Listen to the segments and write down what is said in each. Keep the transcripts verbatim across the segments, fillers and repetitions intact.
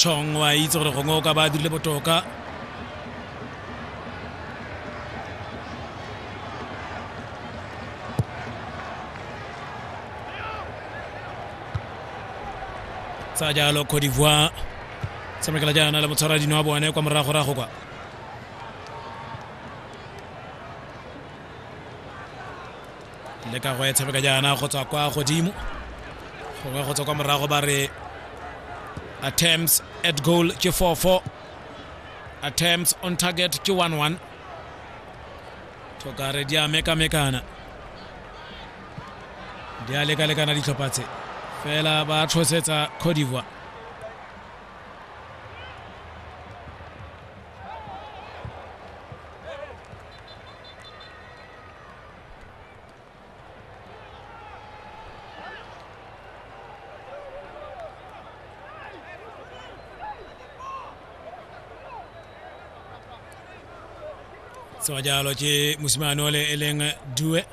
Chong wa itse gore gongwe o ka ba dirile botoka. Tsa jalo Cote d'Ivoire tshamekela jaana le motshwaradino wa bone kwa moragorago kwa. Le ka go e tshameka jaana go tswa kwa godimo, gongwe go tswa kwa morago ba re attempts at goal ke four four, attempts on target ke one one. Tokare di a mekamekana, di a lekalekana ditlhopha tse, fela ba tshosetsa Cote d'Ivoire. Tsewa jalo ke mosimane ole e leng Due.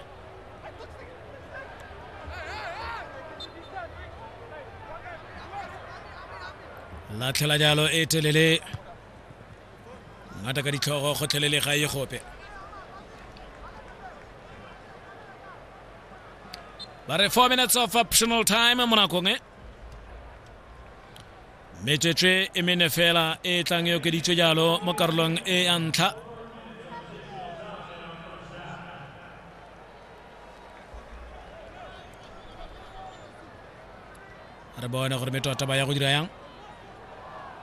Latlhela jalo e telele, ngata ka ditlhogo gotlhelele ga e gope. Ba re four minutes of optional time mo nakong e. Metsotso e mene fela e tlang e okeditswe jalo mo karolong e ya ntlha. Re bone gore metota ba ya go dira yang.